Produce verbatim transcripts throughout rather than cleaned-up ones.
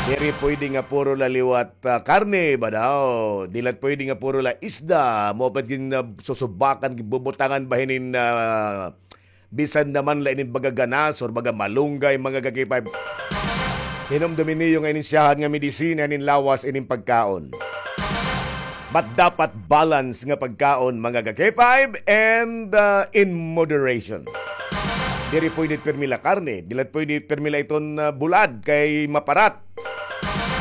Diri pwede nga puro la liwat, ah, karne ba daw? Di la pwede nga puro la isda. Mao pa gin, ah, susubakan, ginbubutangan ba hinin, ah, bisan naman la inin baga ganas or baga malunggay, mga ka-K five. Hinumdumi niyo nga inin siyahan nga medisina, inin lawas, inin pagkaon. But dapat balance nga pagkaon, mga ka-K five, and, uh, in moderation. Diri pwede pirmi la karne, diri pwede pirmi la iton, uh, bulad kay maparat.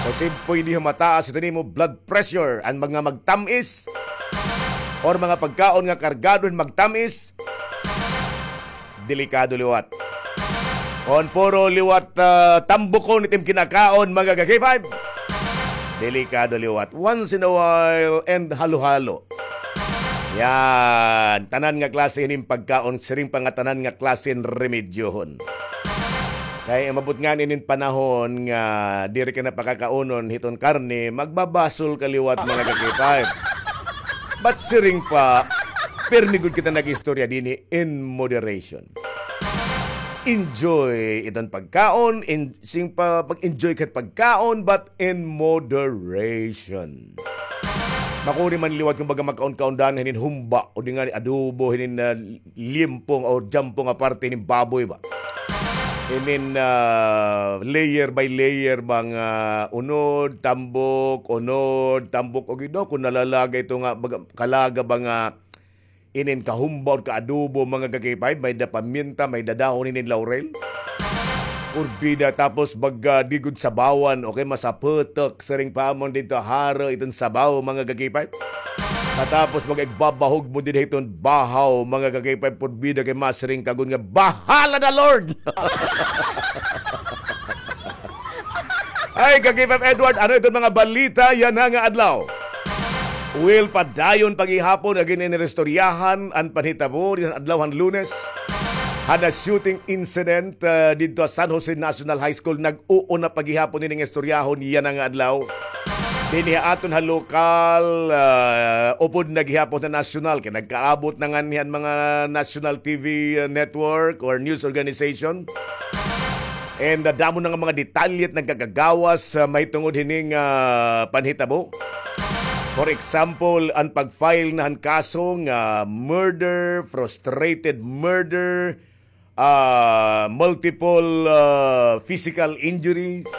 Kasi pwede mataas ito nimo blood pressure, an mga magtam-is, or mga pagkaon nga kargado hin magtam-is, delikado liwat. Kon puro liwat, ah, tambukon it im kinakaon, mga ka-K five, delikado liwat. Once in a while, and halo-halo. Yan. Tanan nga klase hin pagkaon, siring pa nga tanan nga klase hin remedyohon. Kay umabot ngani inin panahon nga diri ka na pakakaunon hiton karne, magbabasol ka liwat, mga ka-K five. But siring pa, pirmi gud kita nag-istorya dinhi in moderation. Enjoy iton pagkaon, in, siring pa, pag-enjoy ka pagkaon, but in moderation. Makuri man liwat kon baga magkaon-kaon dan hinin humba, o di ngani adobo, hinin, ah, limpong o jampong nga parte hinin baboy ba. Hinin, ah, layer by layer ba nga unod, tambok, unod, tambok, o gid daw kon nalalaga ito nga baga, kalaga ba nga inin kahumba or kaadobo, mga ka-K five, may da paminta, may da dahon hinin laurel. Urbida, tapos baga di gud sabawan, okay, masaputok, siring pa amon didto, haro iton sabaw, mga ka-K five. Katapos baga igbabahog mo dinhi hiton bahaw, mga ka-K five, purbida kay masiring ka gud nga, "Bahala na, Lord!" Ay, ka-K five Edward, ano iton mga balita yana nga adlaw? Well, padayon pa gihapon nga gin-inistoryahan an panhitabo dinhi han adlaw han Lunes. Hana shooting incident, ah, didto ha San Jose National High School. Nag-uuna pa gihapon ining istoryahon yana nga adlaw. Dinhi ha aton ha lokal, ah, upod na gihapon ha nasyonal. Kay nagkaabot na nganhi an mga national T V network or news organization. And, ah, damo na nga mga detalye it nagkakagawas, ah, mahitungod hining, ah, panhitabo. For example, an pag-file na han kaso nga murder, frustrated murder, ah, multiple, ah, physical injuries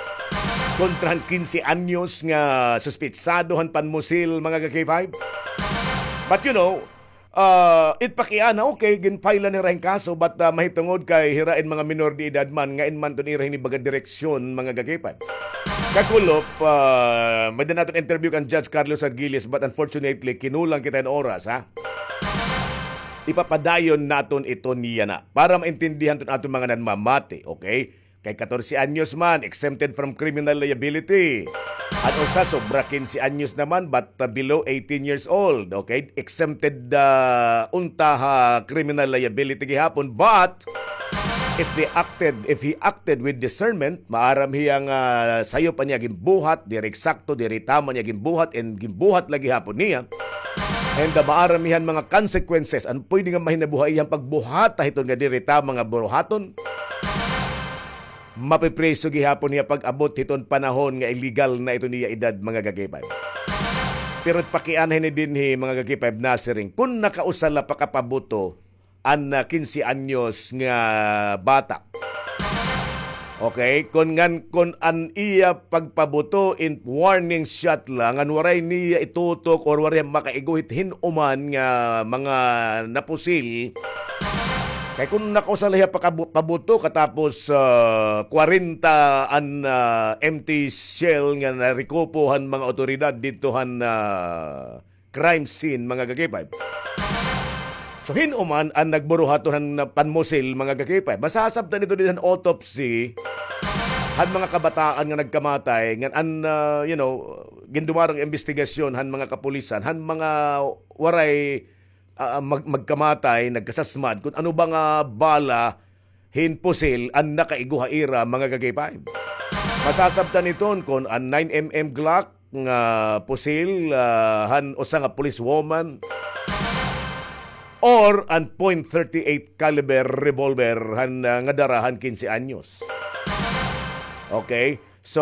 kontra han kinse anyos nga suspetsado han panmusil, mga ka-K five. But, you know, ah, it pakiana, okay, gin-file na nira hin kaso, but, ah, mahitungod kay hira in mga minor de edad man, nga in man ton ira hini baga direksyon, mga ka-K five. Kakulop, ah, may-ada naton interview kan Judge Carlos Argiles, but unfortunately, kinulang kita hin oras, ha? Ipapadayon naton iton yana para maintindihan ton aton mga nanmamati, okay? Kay katorse anyos man, exempted from criminal liability. An usa, sobra kinse anyos naman, but, uh, below eighteen years old, okay? Exempted, uh, unta ha criminal liability gihapon, but if they acted, if he acted with discernment, maaram hiya nga sayop an iya ginbuhat, diri eksakto, diri tama an iya ginbuhat, and ginbuhat la gihapon niya. And, uh, maaram hiya han mga consequences, an pwede nga mahinabuhi hiya han pagbuhata hiton nga diri tama nga buruhaton. Mapipriso gihapon hiya pag-abot hiton panahon nga illegal na iton iya edad, mga ka-K five. Pero pakiana hini dinhi, mga ka-K five, nasiring, kon nakausa la pakapabuto an, ah, kinse anyos nga bata. Okay, kon ngan, kon an iya pagpabuto in warning shot la, ngan waray niya itutok or waray makaigo hit hin-o man nga mga napusil, kay kon nakausa la hiya pakabu-, pabuto katapos, ah, kwarenta an, ah, empty shell nga narekupo han mga awtoridad didto han, ah, crime scene, mga ka-K five. So, hin-o man an nagburuhaton han panmusil, mga ka-K five? Masasabtan ito dinhi han autopsy han mga kabataan nga nagkamatay, ngan an, ah, you know, gindumarong imbestigasyon han mga kapulisan, han mga waray ah, mag-, magkamatay, nagkasasmad, kon ano ba nga bala hin pusil an nakaigo ha ira, mga ka-K five. Masasabtan iton kon an nine M M Glock nga pusil, ah, han usa nga police woman or an point thirty-eight caliber revolver han, ah, nga dara han kinse anyos. Okay? So,